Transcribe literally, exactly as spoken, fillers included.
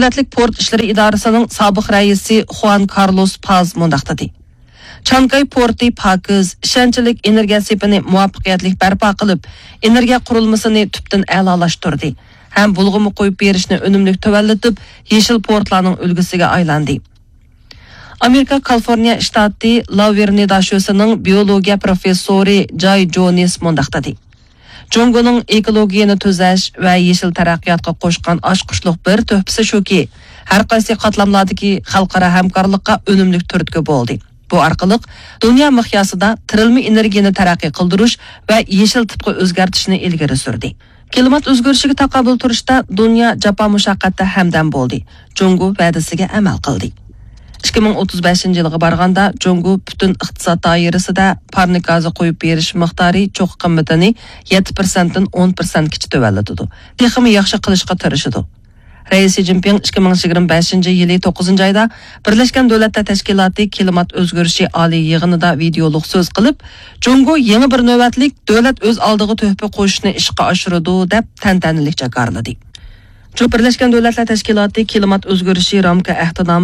دۆلەتلىك پورت ئىشلىرى ئىدارىسىنىڭ سابىق رەئىسى خۇئان كارلوس پاز مۇنداق دېدى: چانكاي پورتى پاكىز، ئىشەنچلىك ئېنېرگىيە سېپىنى مۇۋەپپەقىيەتلىك بەرپا قىلىپ، ئېنېرگىيە قۇرۇلمىسىنى تۈپتىن ئەلالاشتۇردى ھەم بۇلغىما قويۇپ بېرىشنى ئۈنۈملۈك تۆۋەنلىتىپ، يېشىل پورتلارنىڭ ئۈلگىسىگە ئايلاندى. ئامېرىكا كالىفورنىيە شتاتى لاۋېرنىدا شۆسىنىڭ بىيولوگىيە پروفېسسورى جاي جونس مۇنداق دېدى: جۇڭگونىڭ ئېكولوگىيەنى تۈزەش ۋە يېشىل تەرەققىياتقا قوشقان ئاچقۇچلۇق بىر تۆھپىسى شۇكى، ھەر قايسى قاتلاملاردىكى خەلقئارا ھەمكارلىققا ئۈنۈملۈك تۈرتكە بولدى. بۇ ئارقىلىق دۇنيا مىقياسىدا تىرىلما ئېنېرگىيەنى تەرەققىي قىلدۇرۇش ۋە يېشىل تىپقا ئۆزگەرتىشنى ئىلگىرى سۈردى. كىلىمات ئۆزگىرىشىگە تاقابىل تۇرۇشتا دۇنيا جاپا مۇشەققەتتە ھەمدەم بولدى، جۇڭگو ۋەدىسىگە ئەمەل قىلدى. ئىككى مىڭ ئوتتۇز بەشىنچى يىلغا بارغاندا، جۇڭگو پۈتۈن ئىقتىساد دائىرىسىدە پارنىك گازى قويۇپ بېرىش مىقدارى چوققا قىممىتىنى يەتتە پىرسەنتتىن ئون پىرسەنتكىچە تۆۋەنلىتىدۇ. تېخىمۇ ياخشى قىلىشقا تىرىشىدۇ. رەئىس شى جىنپىڭ ئىككى مىڭ يىگىرمە بەشىنچى يىلى توققۇزىنچى ئايدا بىرلەشكەن دۆلەتلەر تەشكىلاتى كىلىمات ئۆزگىرىشى ئالىي يىغىنىدا ۋىدېئولۇق سۆز قىلىپ، جۇڭگو يېڭى بىر نۆۋەتلىك دۆلەت ئۆز ئالدىغا تۆھپە قوشۇشنى ئىشقا ئاشۇرىدۇ، دەپ تەنتەنىلىك جاكارلىدى. جۇ بىرلەشكەن دۆلەتلەر تەشكىلاتى كىلىمات ئۆزگىرىشى رامكا ئەھدىنامىسى